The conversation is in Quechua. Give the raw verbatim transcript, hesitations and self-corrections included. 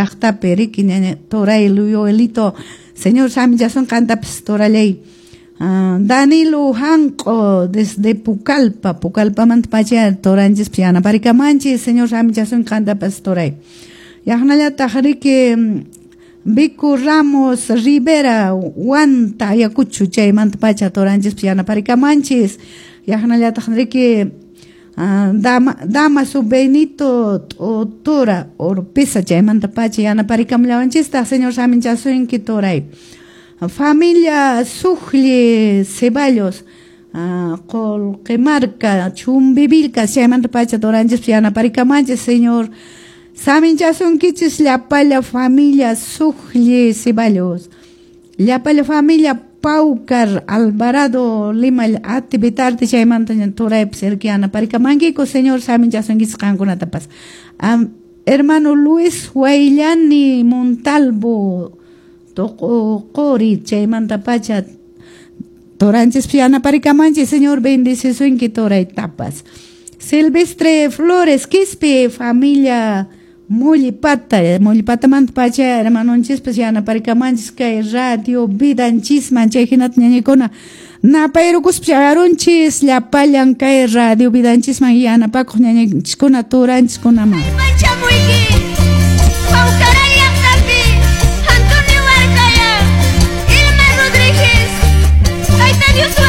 llaqtapi riki ñaña turay Yoelito, Señor saminchasun qantapas turallay. Uh, Danilo Hanqo desde Pucallpa, Pucallpamanta pacha turanchispi yanaparikamanchis, Señor saminchasun qantapas turay. Yaqnallataq riki Vico Ramos Rivera Huanta Ayacucho chaymanta pacha turanchispi yanaparikamanchis. Yaqnallataq riki uh, Dama, Damaso Benito Tora Orpeza chaymanta pacha yanaparikamllawanchistaq, Señor saminchasunki turay. Familia Sujli Ceballos, uh, Qolqemarca, Chumbivilcas, chaymanta pacha turanchispi yanaparikamanchis, Señor saminchasunkichis llapalla familia Sujli Ceballos, llapalla familia Paucar Alvarado Lima Ati Vitarte chaymanta turaypas irki yanaparikamankiku, Señor saminchasunkichis qankunatapas. Um, hermano Luis Huayllani Montalvo Toqori chaymanta pacha turanchispi yanaparikamanchis, Señor bendecisunki turaytapas. Silvestre Flores Quispe, familia Mullipata, Mullipatamanta pacha hermanonchispas yanaparikamanchis kay radio vidanchisman chay hinata ñañikuna napayrukuspa chayarunchis llapallan kay radio vidanchisman yanapakuq ñañanchiskuna turanchiskunaman. Antonio Huarcaya, Irma Rodríguez, Tayta Dios.